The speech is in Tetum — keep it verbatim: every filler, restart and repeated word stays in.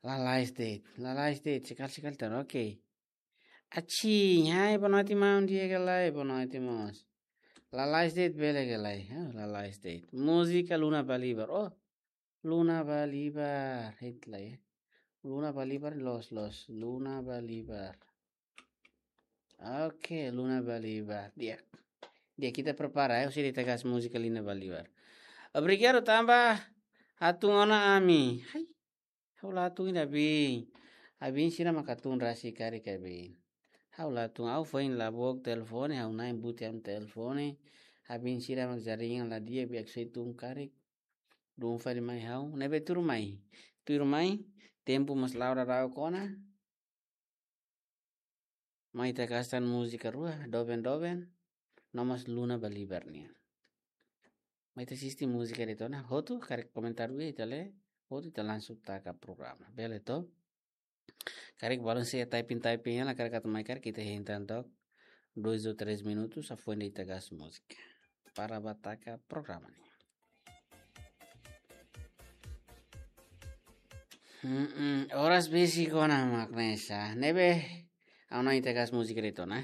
Lalais de'it, lalais de'it, sekali-sekali tan, oke. Aci, hai, boa noite, maun, di'ak ka lae, boa noite, mós. Lalais de'it, bele ka lae, ah, lalais de'it. Múzika Luna Balibar, oh, Luna Balibar, hit lai, eh. Luna Balibar, loos, loos, Luna Balibar. Oke, Luna Balibar, di'ak. Di'ak, ita prepara, eh, husi ita gas múzika Luna Balibar. Obrigadu tanba hatún ona ami. Hai. Ha'u la hatún ida bin. Abin sira mak hatún rasik karik abin. Ha'u la hatún, ha'u foin la book telefone, ha'u na'in buti ami telefone. Abin sira mak jaringan la di'ak, biak sei tun karik. Dun fali mai ha'u, ne'ebé tuirmai. Tuirmai, tempu mós la'o daudauk ona. Mai ita gas tan múzika rua, doben-doben, no mós Luna Balibar nian. Mai ita asisti múzika de'it ona, hotu, karik komentáriu ita lee, hotu ita langsung taka programa. Bele to? Karik balun sei typing-typing hela, karik atu mai karik ita hein tan took, dois ou três minutos, hafoin de'it ita gas múzika. Para ba taka programa nian. Hmm, oras besik ona mak ne'e sá. Ne'ebé, ha'u na'in ita gas múzika de'it ona.